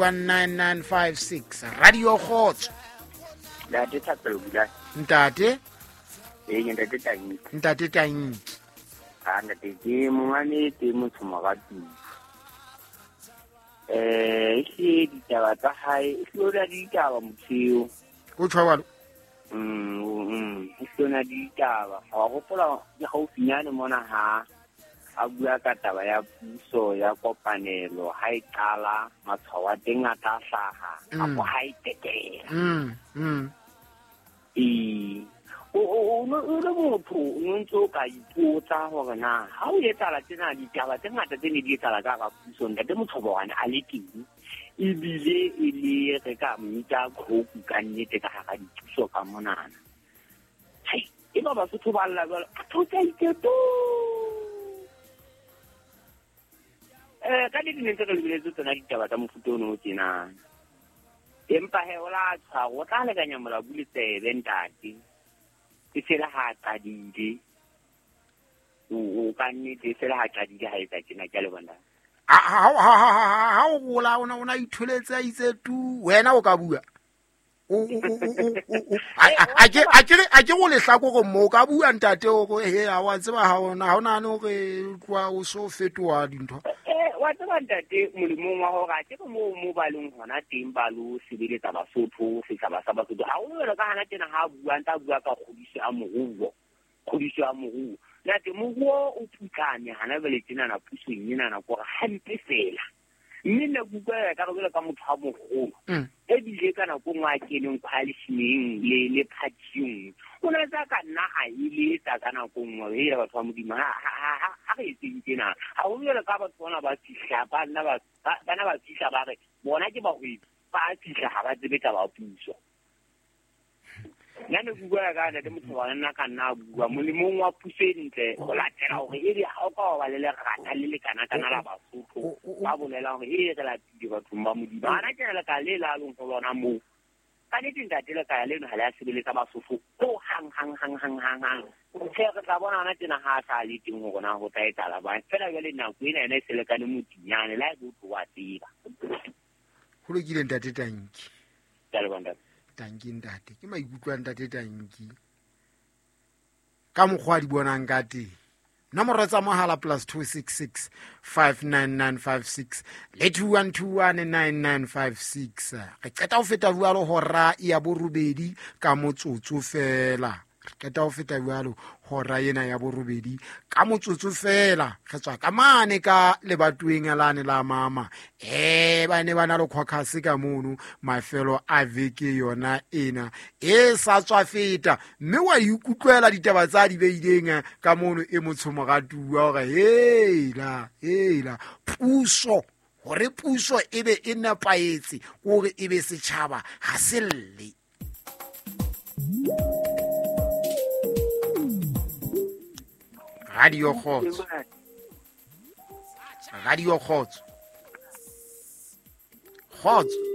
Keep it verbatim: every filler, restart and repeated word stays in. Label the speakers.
Speaker 1: one nine nine five six. Radio Kgotso.
Speaker 2: Ntate Thapelo Bula.
Speaker 1: Ntate?
Speaker 2: Eh, ntate Tanki.
Speaker 1: Ntate Tanki.
Speaker 2: Ah, ntate ke mongane te motho morati. Eh, ke ditaba tsa hae, e hlora ditaba motho.
Speaker 1: O tshwalo.
Speaker 2: Mm, mm, e hlona ditaba. Wa hopola ke haufinyane mona ha a bua ka taba ya puso ya kopanelo ha e qala matshwao a teng a tla hlaha kapo ha e tekela.
Speaker 1: Mm, mm.
Speaker 2: E o o o le motho o ntse o ka ipotsa hore na ha o etsahala tsena ditaba tse ngata tse ne di etsahala ka hara puso ntate Motshobane a le teng ebile e le re ka mmitsa khoku ka nnete ka hara dipuso ka monana. Hai, e ba Basotho ba lla jwalo a thotsa iketo. Eh, ka nnete ne ntse re lebeletse tsona ditaba tsa mofuta ono o tjena. Empa he o la tshwara o tla lekanya molabu le tsebe ntate. E fela ha qadile. O o ka nnete e fela ha qadile ha etsa tjena ke a le bona.
Speaker 1: Ha ha ha ha o gola ona ona itholetse a itse tu wena o ka bua. O o o o a ke a ke a ke go lehlakore mo ka bua ntate o go he ha wa tseba ha ona ha ona no re tloa o so fetoha dintho.
Speaker 2: Eh wa tseba ntate molemong wa hore a ke mo mo ba leng hona teng ba lo sebeletsa Basotho setjhaba sa Basotho. Ha o jwalo ka hana tena ha bua ntsa bua ka kgodiso ya moruo. Kgodiso ya moruo. Ntate moruo o putlame hana jwale tena na pusong ena na kore hampe fela. Mme nna ke utlwa ka re ka motho a moholo. Ebile ka nako nngwe a keneng coalition-eng le le party-eng. O ne tsa ka nna a eletsa ka nako nngwe he batho ba Modimo ha ha ha re etseng tjena. Ha ho jwalo ka batho bona ba fihla ba nna ba bana ba fihla ba re bona ke bahwebi ba fihla ha ba tsebe taba puso. Nna ne ke bua ka ntate motho wa nna ka nna bua molemong wa puso e ntle go latela hore e re ha o ka wa ba le lerata le lekana kana la Basotho ba bolela hore e re latile bathong ba Modimo. Hana ke le ka le la leng ho lona moo. Ka nnete ntate le ka leno ha le a sebeletsa Basotho ho hang hang hang hang hang hang. Tjhe re tla bona hona tjena ha a sa le teng hore na ho tla etsahala bang. Fela jwale nako ena yona e selekane motinyane le ha e tlo wa tseba.
Speaker 1: Ho lokile ntate Tanki.
Speaker 2: Ke a leboha ntate.
Speaker 1: Tanki ntate ke maikutlo a ntate Tanki ka mokgwa a di bonang ka teng. Nomoro tsa mohala plus two six six five nine nine five six le two one two one nine nine five six. Re qeta ho feta jwalo hora ya borobedi ka motsotso fela. Re qeta ho feta jwalo hora ena ya borobedi ka motsotso fela. Re tswa ka mane ka lebatoweng lane la mama. Eh ba ne ba na le caucus ka mono mafelo a veke yona ena e sa tswa feta mme wa ikutlwela ditaba tsa di beileng ka mono e motsho moratuwa hore hela hela puso hore puso e be e nepahetse hore e be setjhaba ha se lle. Radio Kgotso. Radio Kgotso. Kgotso.